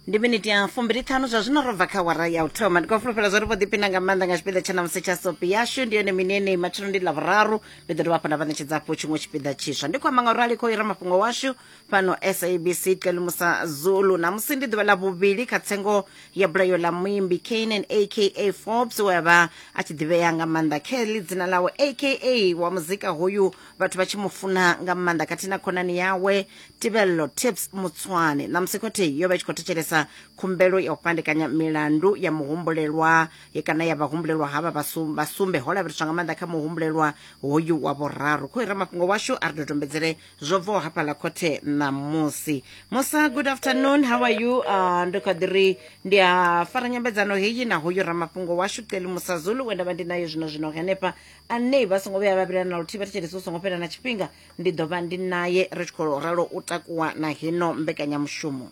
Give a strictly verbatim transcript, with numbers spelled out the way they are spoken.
Ndi miniti ya fumbili ṱhanu zwa zwino ro bva kha wara ya u thoma. Ndi khou fulufhela zwa ri vho ḓiphina nga maanḓa nga tshipiḓa tsha ṋamusi tsha sopi yashu. Ndi yone mini yeneyi? Matshelo ndi Ḽavhuraru, ndi ḓo dovha hafhu nda vha ṋetshedza hafhu tshiṅwe tshipiḓa tshiswa. Ndi khou amba nga u rali khou ira mafhungo washu fhano S A B C, Kelumusa Zulu. Ṋamusi ndi ḓuvha ḽa vhuvhili kha tsengo ya bulayo ḽa muimbi Kiernan A K A Forbes, we a vha a tshi ḓivhea nga maanḓa Kelly dzina ḽawe, A K A wa muzika hoyu vhathu vha tshi mu funa nga maanḓa, khathihi na khonani yawe Tibello Tips Mutswane. Ṋamusi khothe yo vha i tshi khou thetshelesa khumbelo ya u fhandekanya milandu ya muhumbulelwa kana ya vhahumbulelwa havha vhasumbe, ho lavheleswa nga maanḓa kha muhumbulelwa hoyu wa vhuraru. Khou ira mafhungo washu a ri dodombedzele zwo bvaho hafhaḽa khothe ṋamusi. Musa, good afternoon, how are you? uh, ndi kha ḓi ri ndi a fara nyambedzano heyi na hoyu ramafhungo washu Qeli Musa Zulu, we nda vha ndi naye zwino zwino henefha, ane vha songo vhuya vha vhilana na luthihi vha thetshelesi. U songo fhela na tshifhinga ndi ḓo vha ndi naye ri tshi khou ralo u takuwa na hino mbekanyamushumo.